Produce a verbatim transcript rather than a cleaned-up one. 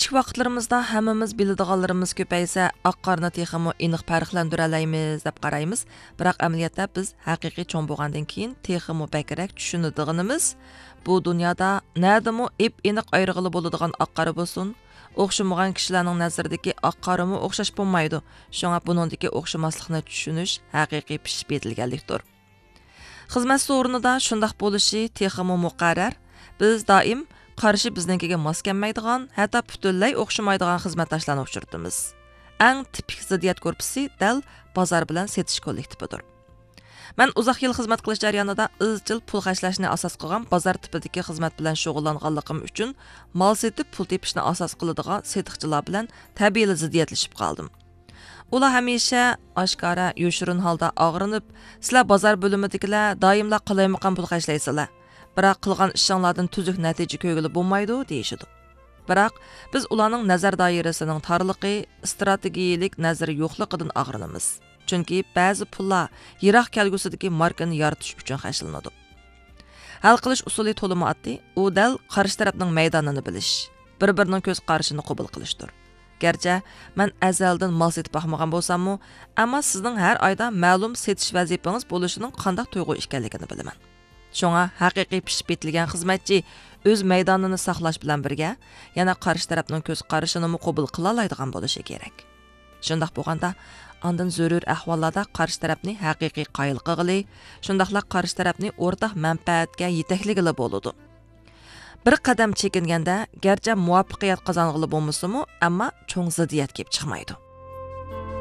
كىچىك ۋاقىتلىرىمىزدا ھەممىمىز بىلىدىغانلىرىمىز كۆپەيسە، ئاق قارىنى تېخىمۇ ئېنىق پەرقلەندۈرەلەيمىز دەپ قارايمىز. بىراق ئەمەلىيەتتە بىز ھەقىقىي چوڭ بولغاندىن كېيىن تېخىمۇ بەكرەك چۈشىنىدىغىنىمىز، بۇ دۇنيادا نەدىمۇ ئېپ-ئېنىق ئايرىغىلى بولىدىغان ئاق قارا بولسۇن، ئوخشىمىغان كىشىلەرنىڭ نەزىرىدىكى ئاق قارىمۇ ئوخشاش بولمايدۇ. شۇڭا بۇنىڭدىكى ئوخشىماسلىقنى چۈشىنىش ھەقىقىي پىشىپ يېتىلگەنلىكتۇر. خىزمەت سورۇنىدا شۇنداق بولۇشى تېخىمۇ مۇقەررەر. بىز دائىم قارىشى بىزنىڭكىگە ماس كەلمەيدىغان، ھەتتا پۈتۈنلەي ئوخشىمايدىغان خىزمەتداشلارنى ئۇچرىتىمىز. ئەڭ تىپىك زىددىيەت گۇرۇپپىسى دەل بازار بىلەن سېتىش كوللېكتىپىدۇر. مەن ئۇزاق يىل خىزمەت قىلىش جەريانىدا ئىزچىل پۇل خەجلەشنى ئاساس قىلغان بازار تىپىدىكى خىزمەت بىلەن شۇغۇللانغانلىقىم ئۈچۈن، مال سېتىپ پۇل تېپىشنى ئاساس قىلىدىغان سېتىقچىلار بىلەن تەبىئىيلا زىددىيەتلىشىپ قالدىم. ئۇلار ھەمىشە ئاشكارا، يوشۇرۇن ھالدا ئاغرىنىپ، «سىلەر بازار بۆلۈمىدىكىلەر دائىملا قالايمىقان پۇل خەجلەيسىلەر، بىراق قىلغان ئىشىڭلاردىن تۈزۈك نەتىجە كۆرگىلى بولمايدۇ» دېيىشىدۇ. بىراق بىز ئۇلارنىڭ نەزەر دائىرىسىنىڭ تارلىقى، ئىستراتېگىيىلىك نەزىرى يوقلۇقىدىن ئاغرىنىمىز. چۈنكى بەزى پۇللار يىراق كەلگۈسىدىكى ماركىنى يارىتىش ئۈچۈن خەجلىنىدۇ. ھەل قىلىش ئۇسۇلى تولىمۇ ئاددىي، ئۇ دەل قارشى تەرەپنىڭ مەيدانىنى بىلىش، بىر-بىرىنىڭ كۆز قارىشىنى قوبۇل قىلىشتۇر. گەرچە مەن ئەزەلدىن مال سېتىپ باقمىغان بولساممۇ، ئەمما سىزنىڭ ھەر ئايدا مەلۇم سېتىش ۋەزىپىڭىز بولۇشىنىڭ قانداق تۇيغۇ ئىكەنلىكىنى بىلىمەن. شۇڭا ھەقىقىي پىشىپ يېتىلگەن خىزمەتچى ئۆز مەيدانىنى ساقلاش بىلەن بىرگە، يەنە قارشى تەرەپنىڭ كۆز قارىشىنىمۇ قوبۇل قىلالايدىغان بولۇشى كېرەك. شۇنداق بولغاندا، ئاندىن زۆرۈر ئەھۋاللاردا قارشى تەرەپنى ھەقىقىي قايىل قىلغىلى، شۇنداقلا قارشى تەرەپنى ئورتاق مەنپەئەتكە يېتەكلىگىلى بولىدۇ. بىر قەدەم چېكىنگەندە، گەرچە مۇۋەپپەقىيەت قازانغىلى بولمىسىمۇ، ئەمما چوڭ زىددىيەت كېلىپ چىقمايدۇ.